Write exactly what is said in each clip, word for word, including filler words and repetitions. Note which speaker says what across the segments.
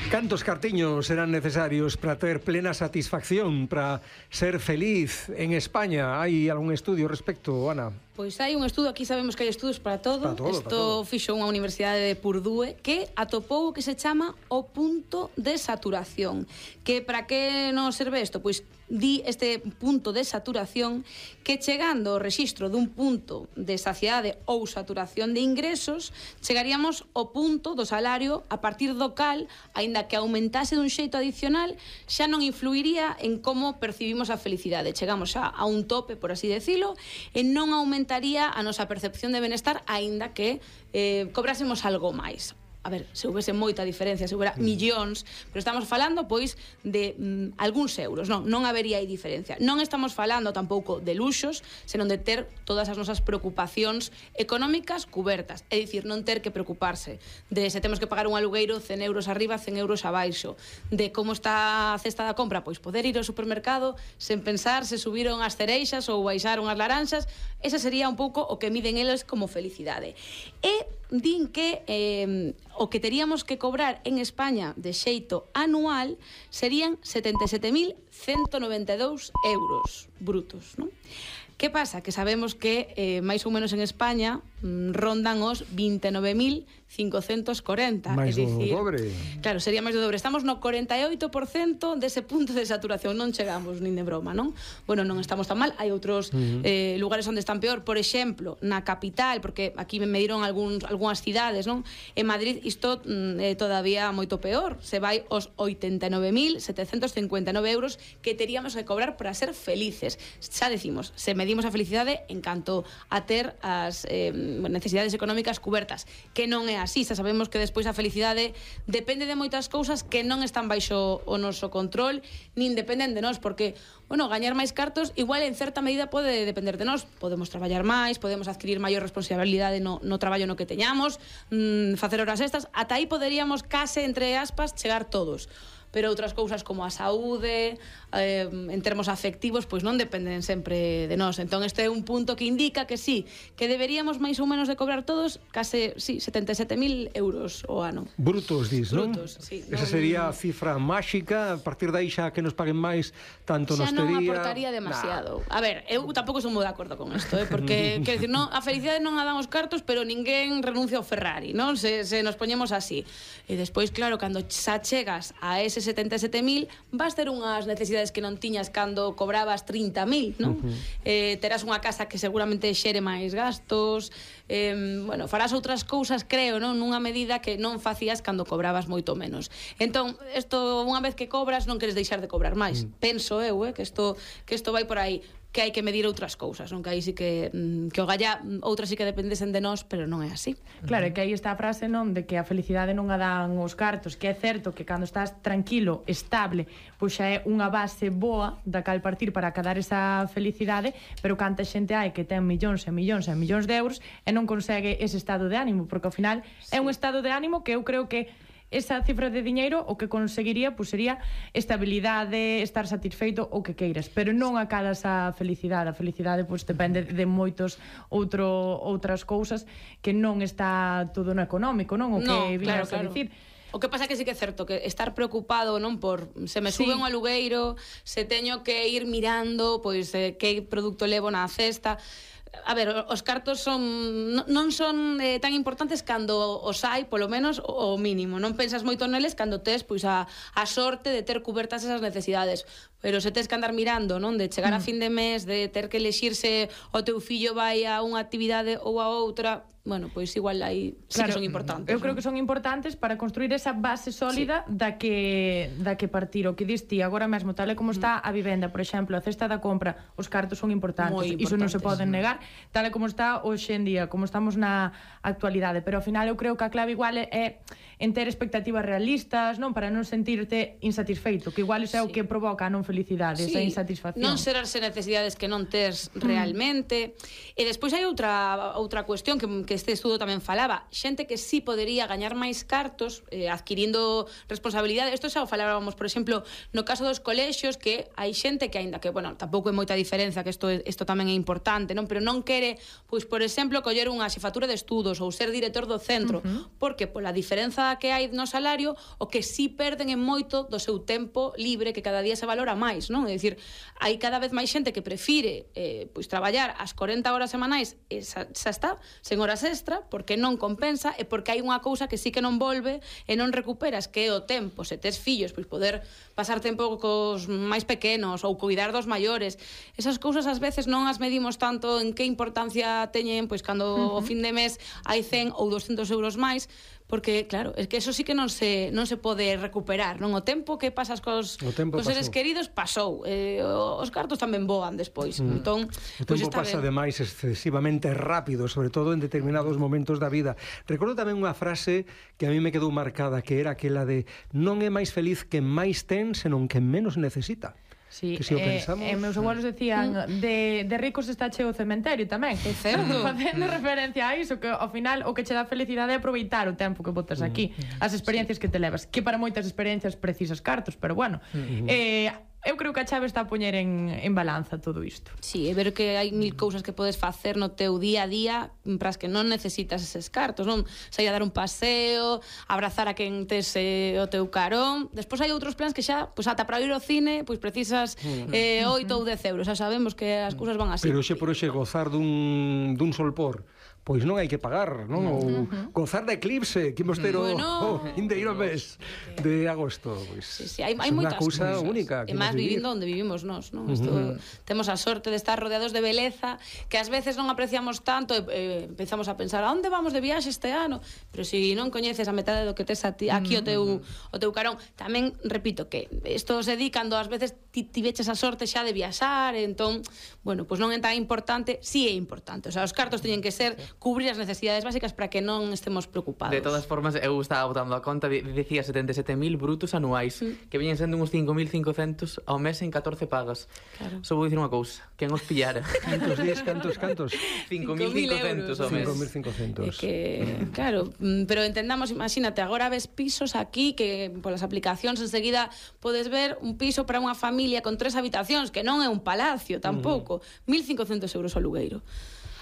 Speaker 1: Cantos cartiños serán necesarios para ter plena satisfacción, para ser feliz en España? Hai algún estudio ao respecto, Ana?
Speaker 2: Pois hai un estudo, aquí sabemos que hai estudos para todo.
Speaker 1: Para todo,
Speaker 2: Isto
Speaker 1: para todo.
Speaker 2: fixo unha universidade de Purdue que atopou o que se chama o punto de saturación. Que para que nos serve isto? Pois di este punto de saturación que chegando ao rexistro dun punto de saciedade ou saturación de ingresos chegaríamos ao punto do salario a partir do cal, aínda que aumentase dun xeito adicional, xa non influiría en como percibimos a felicidade. Chegamos xa a un tope, por así decirlo, e non aumentaría a nosa percepción de benestar aínda que eh, cobrásemos algo máis. A ver, se houvese moita diferencia, se houbera millóns, pero estamos falando, pois, de mm, algúns euros, non, non habería aí diferencia. Non estamos falando tampouco de luxos, senón de ter todas as nosas preocupacións económicas cubertas, é dicir, non ter que preocuparse de se temos que pagar un alugueiro cen euros arriba, cen euros abaixo, de como está a cesta da compra, pois poder ir ao supermercado sen pensar se subiron as cereixas ou baixaron as laranxas. Ese sería un pouco o que miden eles como felicidade. E din que eh, o que teríamos que cobrar en España de xeito anual serían setenta e sete mil ciento noventa e dous euros brutos, non? Que pasa? Que sabemos que eh, máis ou menos en España mm, rondan os vinte e nove mil cincocentos corenta.
Speaker 1: Máis do
Speaker 2: dicir,
Speaker 1: dobre.
Speaker 2: Claro, sería máis do dobre. Estamos no corenta e oito por cento dese punto de saturación. Non chegamos nin de broma, non? Bueno, non estamos tan mal. Hai outros uh-huh. eh, lugares onde están peor. Por exemplo, na capital, porque aquí me mediron algúns, algunhas cidades, non? En Madrid isto é mm, todavía moito peor. Se vai os oitenta e nove mil setecentos cincuenta e nove euros que teríamos que cobrar para ser felices. Xa decimos, se medimos a felicidade en canto a ter as eh, necesidades económicas cubertas, que non é así. Xa sabemos que despois a felicidade depende de moitas cousas que non están baixo o noso control, nin dependen de nós, porque, bueno, gañar máis cartos igual en certa medida pode depender de nós. Podemos traballar máis, podemos adquirir maior responsabilidade no, no traballo no que teñamos, mmm, facer horas extras, ata aí poderíamos case, entre aspas, chegar todos. Pero outras cousas como a saúde, eh, en termos afectivos, pois non dependen sempre de nós. Entón este é un punto que indica que sí, que deberíamos máis ou menos de cobrar todos case, sí, setenta e sete mil euros o ano.
Speaker 1: Brutos, dis, non?
Speaker 2: Brutos, sí.
Speaker 1: Esa
Speaker 2: Non,
Speaker 1: sería a cifra máxica, a partir de aí xa que nos paguen máis, tanto nos
Speaker 2: xa non
Speaker 1: tería...
Speaker 2: aportaría demasiado. Nah. A ver, eu tampouco son moi de acordo con isto, eh, porque, quero dicir, non, a felicidade non a dan os cartos, pero ninguén renuncia ao Ferrari, non? Se, se nos poñemos así. E despois, claro, cando xa chegas a ese setenta e sete mil, vas ter unhas necesidades que non tiñas cando cobrabas trinta mil, non? Uh-huh. Eh, terás unha casa que seguramente xere máis gastos, eh, bueno, farás outras cousas, creo, non? Nunha medida que non facías cando cobrabas moito menos. Entón, isto, unha vez que cobras, non queres deixar de cobrar máis. Uh-huh. Penso eu, eh, que isto que isto vai por aí, que hai que medir outras cousas, non? Que aí sí que que o galla outras sí que dependesen de nós, pero non é así.
Speaker 3: Claro, é que aí está a frase, non, de que a felicidade non a dan os cartos, que é certo que cando estás tranquilo, estable, pois xa é unha base boa da cal partir para acadar esa felicidade, pero canta xente hai que ten millóns e millóns e millóns de euros e non consegue ese estado de ánimo, porque ao final sí. É un estado de ánimo que eu creo que esa cifra de diñeiro o que conseguiría pues, sería estabilidade, estar satisfeito o que queiras, pero non acadas a felicidade. A felicidade pues, depende de moitos outro, outras cousas que non está todo no económico, non? O que
Speaker 2: no,
Speaker 3: viñas
Speaker 2: claro, claro.
Speaker 3: a dicir.
Speaker 2: O que pasa que sí que é certo que estar preocupado, non, por se me sube sí. un alugueiro, se teño que ir mirando pois eh, que produto levo na cesta. A ver, os cartos son non son eh, tan importantes cando os hai, polo menos o mínimo. Non pensas moito neles cando tes pois a, a sorte de ter cubertas esas necesidades. Pero se tes que andar mirando, non, de chegar mm. a fin de mes, de ter que elexirse o teu fillo vai a unha actividade ou a outra, bueno, pois igual aí sí claro, que son importantes.
Speaker 3: Eu creo
Speaker 2: ¿no?
Speaker 3: que son importantes para construir esa base sólida sí. da que da que partir. O que dis ti agora mesmo, tal e como está a vivenda, por exemplo, a cesta da compra, os cartos son importantes, iso non se poden negar, tal e como está hoxe en día, como estamos na actualidade, pero ao final eu creo que a clave igual é en ter expectativas realistas, non, para non sentirte insatisfeito, que igual é o sí. que provoca a non felicidade, sí. esa insatisfacción.
Speaker 2: Non serarse necesidades que non tes realmente. Mm. E despois hai outra outra cuestión que, que este estudo tamén falaba, xente que sí podería gañar máis cartos eh, adquirindo responsabilidade. Isto xa o falábamos, por exemplo, no caso dos colexios, que hai xente que aínda que, bueno, tampouco é moita diferencia, que isto isto tamén é importante, non, pero non quere, pois, por exemplo, coller unha xefatura de estudos ou ser director do centro, uh-huh. porque pola diferenza diferenza que hai no salario, o que sí perden en moito do seu tempo libre, que cada día se valora máis, non? É dicir, hai cada vez máis xente que prefire eh, pois traballar as corenta horas semanais e xa, xa está, sen horas extra, porque non compensa e porque hai unha cousa que sí que non volve e non recuperas, que é o tempo. Se tes fillos, pois poder pasar tempo cos máis pequenos ou cuidar dos maiores. Esas cousas ás veces non as medimos tanto en que importancia teñen, pois cando uh-huh. o fin de mes hai cen ou doscentos euros máis, porque, claro, é que eso sí que non se non se pode recuperar, non? O tempo que pasas cos, cos seres queridos pasou. Eh, os cartos tamén voan despois. Mm. Entón,
Speaker 1: o tempo pues pasa ademais excesivamente rápido, sobre todo en determinados momentos da vida. Recordo tamén unha frase que a mí me quedou marcada, que era aquela de non é máis feliz quen máis ten, senón quen menos necesita.
Speaker 3: Sí,
Speaker 1: que si o
Speaker 3: eh,
Speaker 1: pensamos...
Speaker 3: eh, meus abuelos decían mm. de, de ricos está cheo o cementerio tamén.
Speaker 2: É certo.
Speaker 3: Facendo referencia a iso, que ao final o que che dá felicidade é aproveitar o tempo que botas aquí, mm. as experiencias sí. que te levas, que para moitas experiencias precisas cartos, pero bueno, mm. eh, eu creo que a chave está a poñer en, en balanza todo isto.
Speaker 2: Sí, é ver que hai mil cousas que podes facer no teu día a día para as que non necesitas eses cartos, non? Sair a dar un paseo, abrazar a quen tes eh, o teu carón. Despois hai outros plans que xa, pois ata para ir ao cine, pois precisas eh, oito ou dez euros. Xa sabemos que as cousas van así.
Speaker 1: Pero xe por hoxe gozar dun, dun solpor, pois non hai que pagar, non? Ou uh-huh. gozar de eclipse, que imos ter o bueno, oh, indeiro mes de agosto, pois.
Speaker 2: Sí, sí, hai, hai moitas
Speaker 1: cousa
Speaker 2: cousas
Speaker 1: única.
Speaker 2: E máis vivindo onde vivimos nós, non? Isto, uh-huh. temos a sorte de estar rodeados de beleza, que ás veces non apreciamos tanto e eh, empezamos a pensar, a onde vamos de viaxe este ano? Pero se si non coñeces a metade do que tes ti, aquí uh-huh. o teu o teu carón, tamén repito que isto se di cando ás veces ti, ti veches a sorte xa de viaxar, entón, bueno, pois non é tan importante, si sí é importante. O sea, os cartos teñen que ser cubrir as necesidades básicas para que non estemos preocupados.
Speaker 4: De todas formas, eu estaba botando a conta, dicía setenta e sete mil brutos anuais, mm. que veñen sendo uns cinco mil cincocentos ao mes en catorce pagas. Claro. Só vou dicir unha cousa, quen os pillara?
Speaker 1: Cantos días, cantos, cantos?
Speaker 4: cinco mil cincocentos ao mes.
Speaker 1: cinco mil cincocentos.
Speaker 2: É que, claro, pero entendamos, imagínate, agora ves pisos aquí que polas aplicacións enseguida podes ver un piso para unha familia con tres habitacións, que non é un palacio tampouco, mm. mil cincocentos euros ao alugueiro.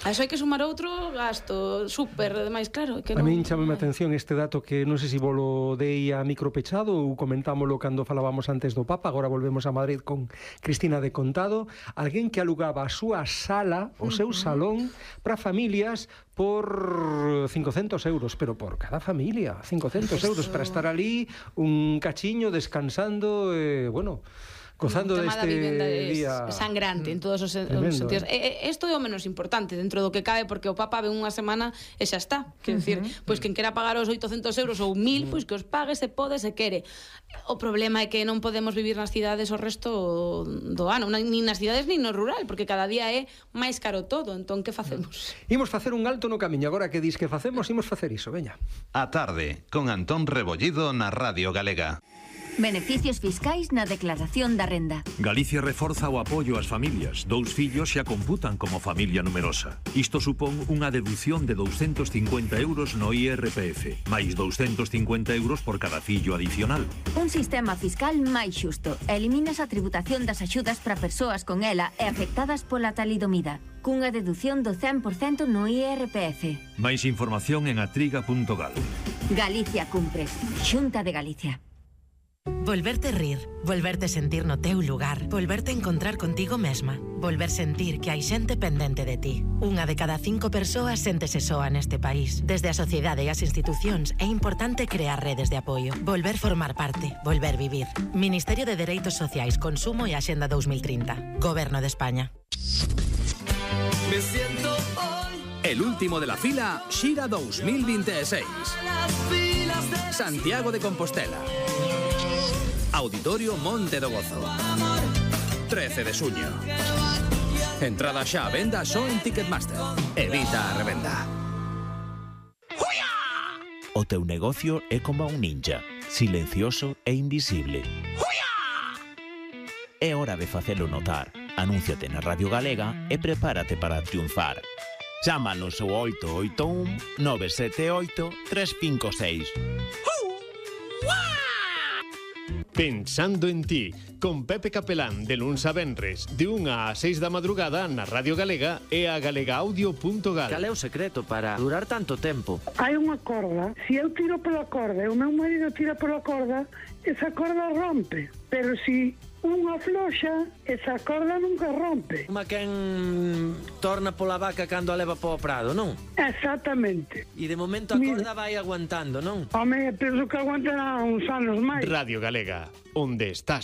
Speaker 2: A iso hai que sumar outro gasto súper, ademais, claro, que non...
Speaker 1: A min chamame a atención este dato que non sei se volo dei a micropechado ou comentámolo cando falábamos antes do Papa, agora volvemos a Madrid con Cristina de Contado, alguén que alugaba a súa sala, o seu salón, para familias por cincocentos euros, pero por cada familia, cincocentos euros para estar ali un cachiño descansando, eh, bueno... gozando deste día
Speaker 2: sangrante en todos os, tremendo, os sentidos. Eh? Isto é o menos importante dentro do que cabe, porque o Papa ve unha semana e xa está. Quer dicir, uh -huh. pois quen quera pagar os oitocentos euros ou mil, uh -huh. pois que os pague, se pode, se quere. O problema é que non podemos vivir nas cidades o resto do ano, nin nas cidades nin no rural, porque cada día é máis caro todo. Entón, que facemos?
Speaker 1: Imos facer un alto no camiño. Agora que dis que facemos, imos facer iso, veña.
Speaker 5: A tarde, con Antón Rebollido na Radio Galega.
Speaker 6: Beneficios fiscais na declaración da renda.
Speaker 7: Galicia reforza o apoio ás familias. Dous fillos xa computan como familia numerosa. Isto supón unha deducción de douscentos cincuenta euros no I R P F, máis douscentos cincuenta euros por cada fillo adicional.
Speaker 6: Un sistema fiscal máis xusto. Eliminas a tributación das axudas para persoas con ela e afectadas pola talidomida, cunha deducción do cen por cento no I R P F.
Speaker 7: Máis información en atriga punto gal.
Speaker 6: Galicia cumpre. Xunta de Galicia.
Speaker 8: Volverte rir, volverte sentir no teu lugar, volverte encontrar contigo mesma, volver sentir que hai xente pendente de ti. Unha de cada cinco persoas séntese soa neste país. Desde a sociedade e as institucións é importante crear redes de apoio, volver formar parte, volver vivir. Ministerio de Dereitos Sociais, Consumo e Axenda dos mil trinta. Goberno de España.
Speaker 9: Me siento hoy el último de la fila Xira dos mil veintiséis. Santiago de Compostela. Auditorio Monte do Gozo. trece de xuño. Entrada xa a venda só en Ticketmaster. Evita a revenda.
Speaker 10: O teu negocio é como un ninja, silencioso e invisible. É hora de facelo notar. Anúnciate na Radio Galega e prepárate para triunfar. Chámanos ao oito oito un nove sete oito tres cinco seis.
Speaker 11: Pensando en ti, con Pepe Capelán de luns a venres de unha a seis da madrugada na Radio Galega e a galegaaudio punto gal.
Speaker 12: Cal é o secreto para durar tanto tempo?
Speaker 13: Hai unha corda, se eu tiro pola corda e o meu marido tira pola corda, esa corda rompe, pero se unha floxa, esa corda nunca rompe.
Speaker 12: Como quen torna pola vaca cando a leva po prado, non?
Speaker 13: Exactamente.
Speaker 12: E de momento a corda vai aguantando, non?
Speaker 13: Home, penso que aguantará uns anos máis.
Speaker 11: Radio Galega, onde estás